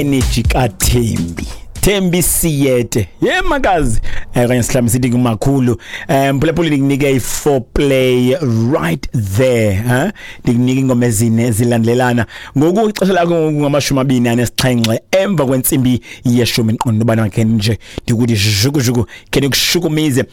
Energy kaThembi, Thembi Siyete, ye makazi, okanye sihlamba sithi kumakhulu. Mphulaphuli, ndikunike i-foreplay right there, huh? Ndikunike ingoma ezine zilandelelana. Ngoku ixesha lakho ngoku 27 emva kwentsimbi yeshumi. Ndiqonda ubana khe nje ndikuthi zhuku khe ndikushukumize.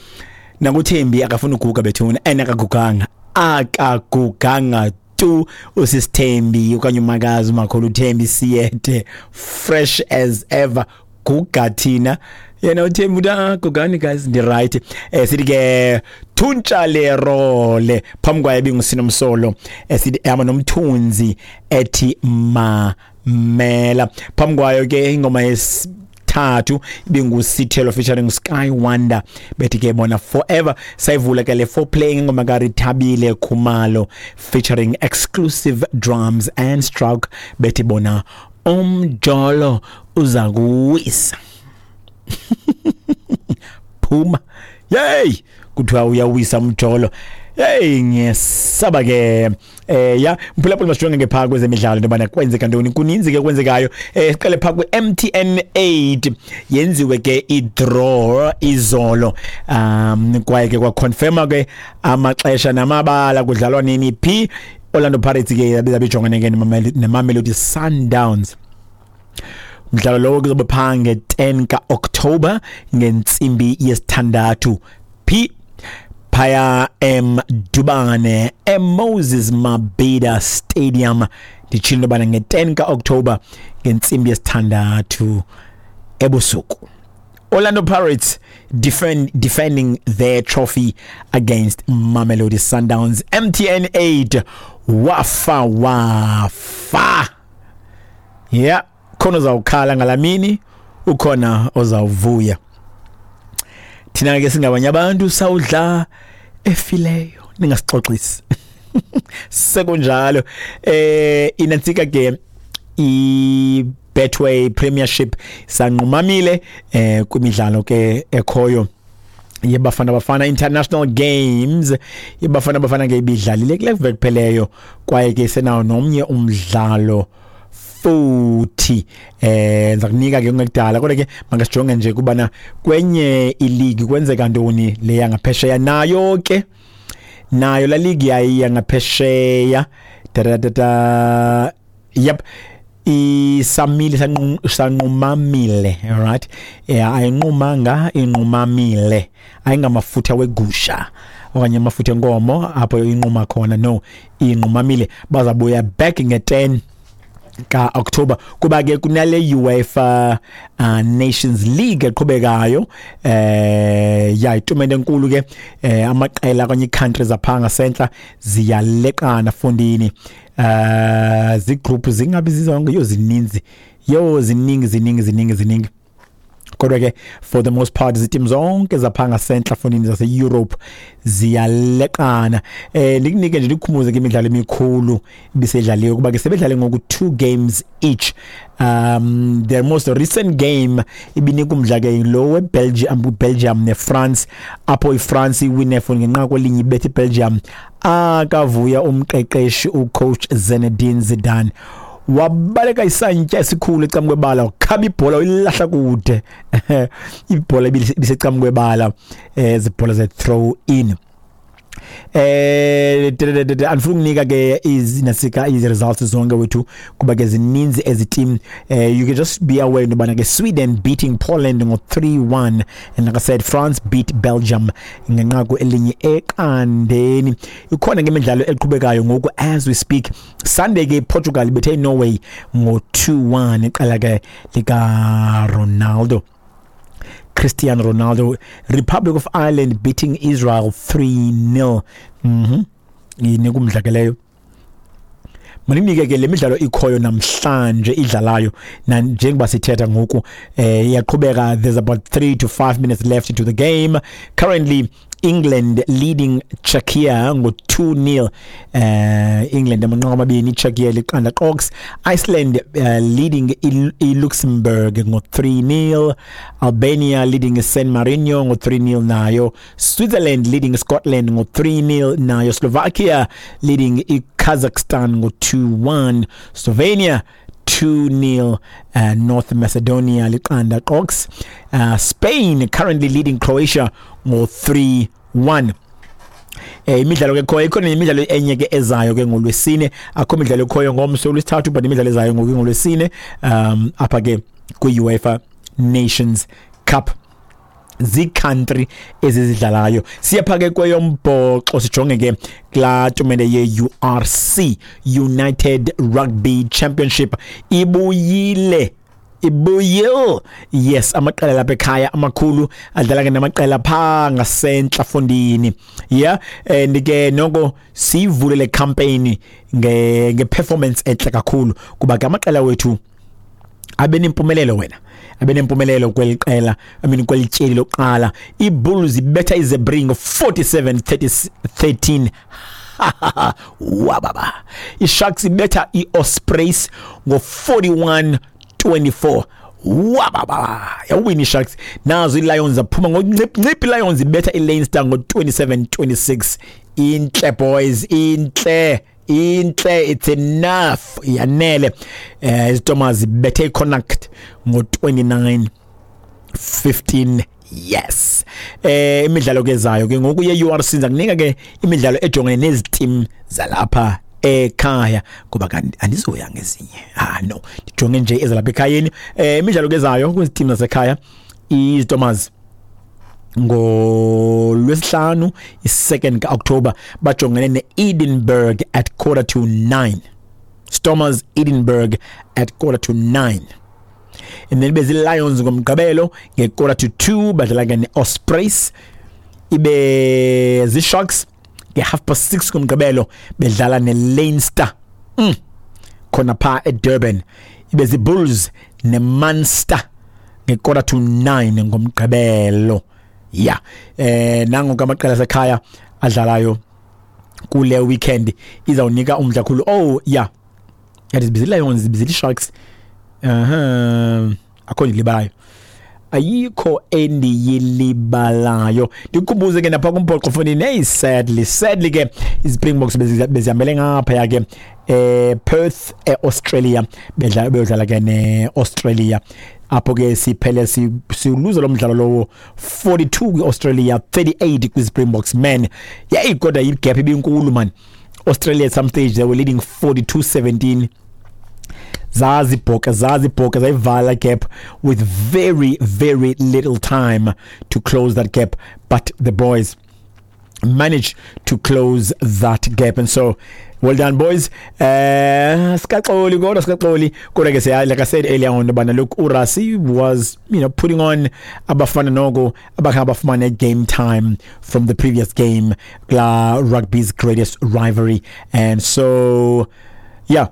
Nakuthembi akafuni uguga bethuna, and akaguganga, akaguganga tu usisithembi okanye umakazi umakhulu uThembi Siyete, fresh as ever. Guga thina, yena uThembi uthi, "Ah, gugani guys, ndi right." Sithi ke thuntsha le role phambi kwaye bingusinomsolo, esithi ehamba nomthunzi ethi mamela. Phambi kwayo ke ingoma yesithathu ibingusithelo featuring Sky Wonder, bethi ke bona Forever. Sayivula ke le foreplay ingoma kaRithabile Khumalo featuring Exclusive Drums and Stroke, bethi bona Umjolo Uza Kuwisa. Phuma yey, kuthiwa uyawisa umjolo. Hey, ngiyesaba ke. Ya mphulaphula, masijonge ke phaa kwezemidlalo into yobana kwenzeka ntoni. Kuninzi ke kwenzekayo. Siqale phaa kwi-MTN 8. Yenziwe ke i-draw izolo, kwaye ke kwaconfirma ke amaxesha namabala, kudlalwa nini phi. Orlando Pirates ke yabiza bijongene ke neMamelodi Sundowns. Umdlalo lowo kuzobe phaa nge-10 ka-October ngentsimbi yesithandathu phi phaya eMdubane, eMoses Mabhida Stadium. Nditshilo into yobana nge-10 ka-October ngentsimbi yesithandathu ebusuku, Orlando Pirates defending their trophy against Mamelodi Sundowns. MTN 8, wafa wafa. Yeah, khona uzawukhala ngalamini, ukhona ozawuvuya. Thina ke singabanye abantu sawudla efileyo, ningasixoxisi. Sekunjalo, inantsika ke i Betway Premiership, sanqumamile kwimidlalo ke ekhoyo yeBafana Bafana International Games. IBafana Bafana ke ibidlalile kule veki pheleyo, kwaye ke senawo nomnye umdlalo futhi. Ndiza kunika ke kungekudala, kodwa ke makasijonge nje kubana kwenye iligi kwenzeka ntoni, le yangaphesheya. Nayo ke, nayo la ligi yayi yangaphesheya da yep, isamile, sanqumamile. Alright, yeah, ayinqumanga, inqumamile. Ayingamafutha wegusha okanye amafutha enkomo apho inquma khona, no, inqumamile. Bazabuya back nge-10 ka-October, kuba ke kunale UEFA Nations League eqhubekayo. Ya, itumente enkulu ke. Amaqela okanye ii-countries apha ngasentla ziyaleqana fondini. Zigroup zingabi zizonke, yo, zininzi, yo, ziningi, ziningi, ziningi, ziningi, kodwa ke for the most part zitim zonke zapha ngasentla fondini zase-Europe ziyaleqana. Ndikunike nje, ndikukhumbuze ke imidlalo emikhulu ibisedlaliwe, kuba ke sebedlale ngoku two games each. Their most recent game ibinika umdla ke lo weBelgium, Belgium neFrance, apho iFrance iwine for ngenqaku elinye, ibetha iBelgium. Akavuya umqeqeshi ucoach Zinedine Zidane, wabaleka isantya esikhulu ecam kwebala, wakhaba ibhola, uyilahla kude ibhola ibisecam kwebala, zibhola ze-throw in. Andifuna ukunika ke izinasika izi-results zonke wethu, kuba ke zininzi ezi team. You can just be aware into yobana ke Sweden beating Poland ngo-3-1, and like I said, France beat Belgium ngenqaku elinye eqandeni. Ikhona ke imidlalo eqhubekayo ngoku as we speak. Sunday ke Portugal ibethe iNorway ngo-2-1, iqela ke lika Ronaldo, Cristiano Ronaldo. Republic of Ireland beating Israel 3-0. Inika umdla ke leyo. Maninike ke le midlalo ikhoyo namhlanje idlalayo na njengoba sithetha ngoku, iyaqhubeka. There's about 3 to 5 minutes left into the game. Currently England leading Czechia ngo-2-0. England amanqaku amabini, Czechia liqanda qox. Iceland leading iLuxembourg ngo-3-0. Albania leading San Marino ngo-3-0 nayo. Switzerland leading Scotland ngo-3-0 nayo. Slovakia leading iKazakhstan ngo-2-1. Slovenia 2-0 North Macedonia liqanda qox. Spain currently leading Croatia ngo 3-1. Imidlalo ke khoyo, ikhona imidlalo enye ke ezayo ke ngolwesine. Akho midlalo ekhoyo ngomso olwesithathu, but imidlalo ezayo ngoku ngolwesine apha ke kwi-UEFA Nations Cup, zii-country ezizidlalayo. Siyapha ke kweyombhoxo, sijonge ke kulaa tumente ye-URC, United Rugby Championship. Ibuyile, ibuyile, yes. Amaqela lapha ekhaya amakhulu adlala ke namaqela phaa ngasentla fondini, yeah. And ke noko siyivule le campaign nge-performance entle kakhulu, kuba ke amaqela wethu abe nempumelelo, wena abe nempumelelo kweli qela, I mean kweli tyeli lokuqala. IBulls ibetha iZebre ngo-47 13, wababa. ISharks ibetha iOspreys ngo-41 24, wababa, yawina iSharks. Nazo iLions zaphuma ngoncip, iLions ibetha iLeinster ngo-27 26. Intle boys, intle, intle, it's enough, yanele. IziTomaz ibethe iConnacht ngo-29 15, yes. Imidlalo ke zayo ke ngoku ye-URC, ndiza kunika ke imidlalo ejongene nezi team zalapha ekhaya, kuba kanti andizoya ngezinye. Ah no, ndijonge nje ezalapha ekhayeni. Imidlalo ke zayo kwezi team zasekhaya, iZtomas ngolwesihlanu i-2nd ka-October bajongene ne-Edinburgh at 8:45, Stormers Edinburgh at 8:45. And then bezi-Lions ngomgqibelo nge-1:45 badlala ke ne-Ospreys. Ibe zii-Sharks nge-6:30 ngomgqibelo bedlala ne-Leinster khona phaa eDurban. Ibe zii-Bulls ne-Munster nge-8:45 ngomgqibelo. Ya, nango amaqela asekhaya adlalayo kule weekend, izawunika umdla kakhulu. Oh yeah, yathi zibizile Lions, zibizile Sharks. Aha, akho ndilibalayo, ayikho endiyilibalayo. Ndikukhumbuze ke napha kumbhoxo fonini, hey, sadly, sadly ke iSpringboks bezihambele ngaphaya ke Perth eAustralia, bedlala, beyodlala ke neAustralia. Apho ke siphele siluza lo mdlalo lowo 42 kwi-Australia, 38 kwi-Springboks, man. Yayi kodwa igap ibinkulu man. Australia at some stage they were leading 42-17. Zazibhoka, zazibhoka, zayivala gap with very very little time to close that gap, but the boys managed to close that gap, and so well done boys. Sikaxoli kodwa, sikaxoli kodwa ke siya, like I said earlier on bana, look, uRassie was putting on abafana noko abakhe abafumane game time from the previous game kula rugby's greatest rivalry, and so yeah,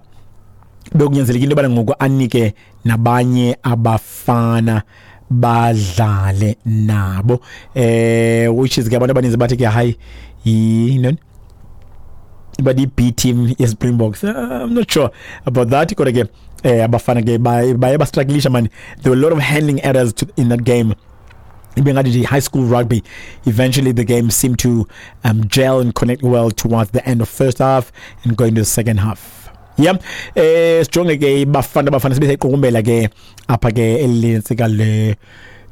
bekunyanzelekile into yobana ngoku anike nabanye abafana badlale nabo, which is ke abantu abaninzi bathi ke hayi, yintoni, but i-B team ye-Springboks. I'm not sure about that, kodwa ke abafana ke baye bastrugglisha man. There were a lot of handling errors in that game, ibe ngathi high school rugby. Eventually the game seemed to gel and connect well towards the end of first half and going to the second half. Yeah, sijonge ke Bafana Bafana, sibe seyiqukumbela ke apha ke elintsika le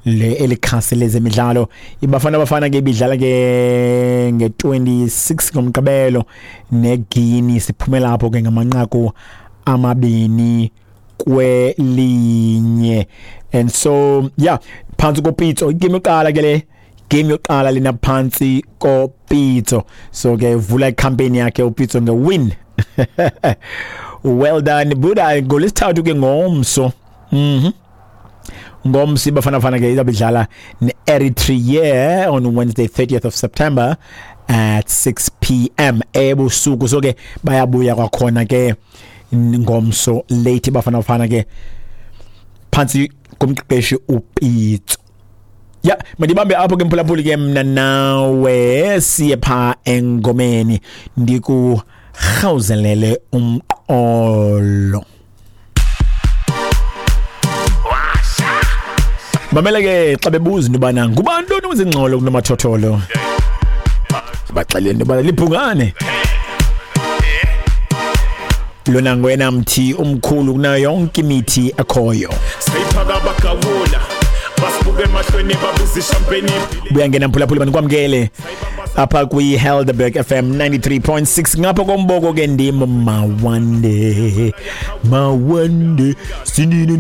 elikhasi lezemidlalo. IBafana Bafana ke ibidlala ke nge-26 ngomgqibelo neGuinea, siphumela apho ke ngamanqaku 2-1. And so yeah, phantsi koPitso, igame yokuqala ke le, game yokuqala lena phantsi koPitso. So ke vula icampaign yakhe uPitso nge-win. Well done buda. Ngolwesithathu ke ngomso, ngomso iBafana Bafana ke izabe idlala ne-Eritrea on Wednesday 30th of September at 6 p.m. ebusuku. So ke bayabuya kwakhona ke ngomso late Bafana Bafana ke phantsi komqeqeshi uPitso. Ya, mandibambe apho ke mphulaphuli ke, mna nawe siye pha engomeni, ndikurhawuzelele umqolo. Mamela ke, xa bebuza into yobana ngubani lona wenza ingxolo kunomathotholo, baxelele into yobana libhungane. Lona ngoyena mthi omkhulu kunayo yonke imithi ekhoyo. Sayiphaka bagawula, basibuka emahlweni, babiza ishampeni. Buya ngena mphulaphuli, manikwamkele apha kwi-Helderberg FM 93.6 ngapha komboko ke ndim Mawande, Mawande sinini.